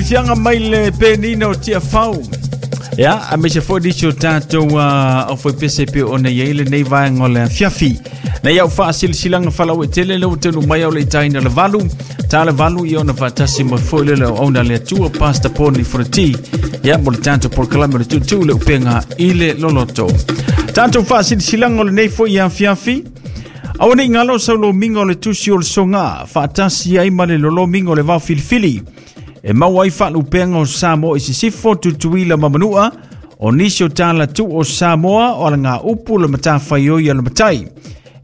Fiaga mai le penina o Tiafau. Ia, aemaise foi nisi o tatou aufaipese e pei ona i ai lenei vaega o le afiafi. Nei au faasilasilaga faalauaitele lea ua taunuu mai au le itaina le valu. Ta le valu ia ona faatasi mai foi le auauna a le Atua Pastor Poni Fonoti. Ia, mo le tatou polokalame o le tuutuu le upega i le loloto. Tatou faasilasilaga o lenei foi afiafi. Aua ne i galo sau lomiga o le tusi o le soga, faatasi ai ma le lolomiga o le vao filifili. E maua ai faalupega o Samoa i Sisifo, Tutuila ma Manua, o nisi o talatu o Samoa o alagaupu le matafaioi a le matai.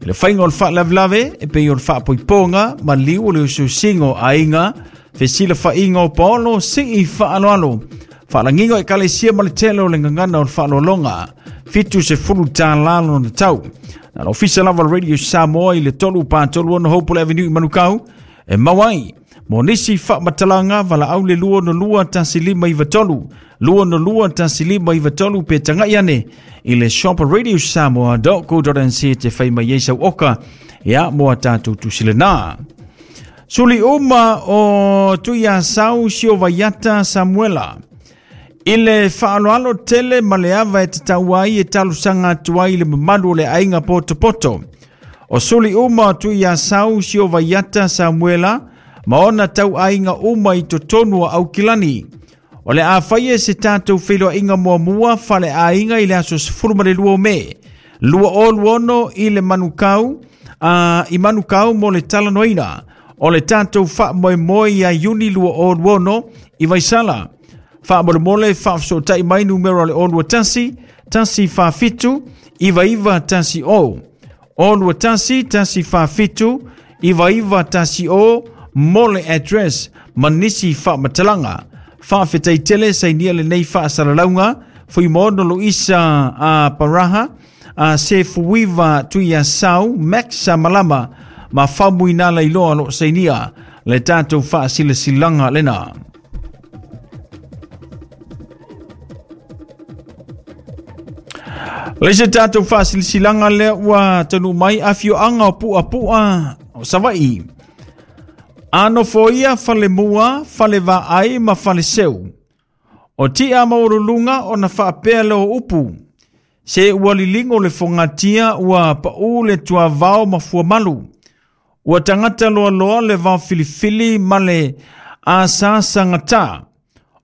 I le faiga o le faalavelave, e pei o le faapoipoga, maliu o le usiusiga o aiga, fesilafaiga o paolo, sii faaaloalo, faalagiga o ekalesia ma le tele o le gagana o le faaaloaloga, $70 lona tau. Na le ofisa lava o le Radio Samoa i le 3 4 3 6 Hopewell Avenue i Manukau, e maua ai. Mo nisi faamatalaga, valaau le 262 1593, 262 1593 pe tagai ane i le shop radiosamoa.co.nz te fai mai ai sau oka ia mo a tatou tusi lena. Suli uma o Tuiasau Siovaiata Samuela. I le faaaloalo tele ma le ava e tatau ai e talosaga atu ai i le mamalu o le aiga potopoto. O suli uma o Tuiasau Siovaiata Samuela ma ona tauaiga uma i totonu o Aukilani. O le a faia se tatou feiloaiga muamua faaleaiga i le aso 12 o Me 2026 i le Manukau, i Manukau mo le talanoaina o le tatou faamoemoe ia Iuni 2026 i Vaisala. Faamolemole faafesootai mai numera o le 021 147 9910, 021 147 9910 mo le address ma nisi faamatalaga. Faafetai tele sainia lenei faasalalauga Fuimaono Luisa a Paraha a se Fuiva Tuiasau Max Malama ma Faumuina Lailoa lo sainia le tatou faasilasilaga lena. Le se tatou faasilasilaga lea ua taunuu mai afioaga o Puapu'a o Savaii. A nofoia falemua, falevaai ma faleseu. O tia maualuluga ona faapea lea o upu. Se ua liligo le fogatia ua pau le tuavao ma fuamalu. Ua tagata loaloa le vao filifili ma le asasagata.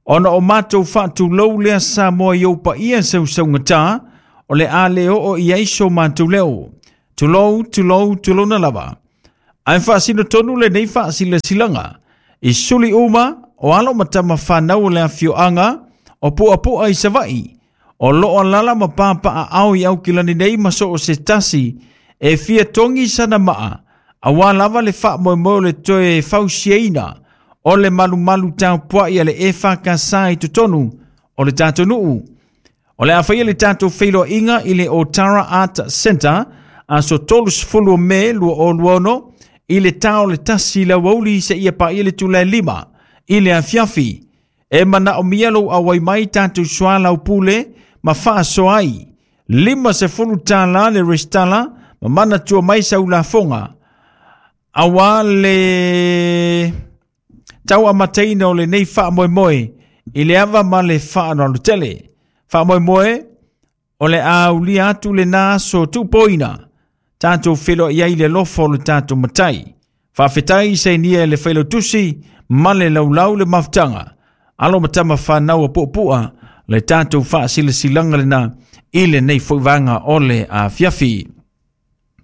Ona o matou faatulou lea Samoa i ou paia sausaugata, o le a le oo i ai so matou leo. Tulou, tulou, tulouna lava. Ae faasino tonu lenei faasilasilaga i suli uma o alo ma tama fanau o le afioaga o Puapu'a i Savaii, o loo alala ma papaaao i Aukilani nei ma so o se tasi e fia togi sana maa, auā lava le faamoemoe o le toe fausiaina o le malumalu tapuai a le EFKS i totonu o le tatou nuu. O le a faia le tatou feiloaiga i le Otara Art Centre aso 30 o Me 2026 i le ta o le 1 i le aoauli seia paia le itula e 5 i le afiafi. E manaomia lou auai mai tatou soalaupule ma faasoa ai. $50 le resitala ma manatua mai sau lafoga auā le tauamataina o lenei faamoemoe i le ava ma le faaaloalo tele. Faamoemoe o le a aulia atu lena aso tuupoina tatou feiloai ai i le alofa o le tatou Matai. Faafetai sainia e le Failautusi ma le laulau le mafutaga. Alo ma tama fanau a Puapua le tatou faasilasilaga lena i lenei foi vaega o le afiafi.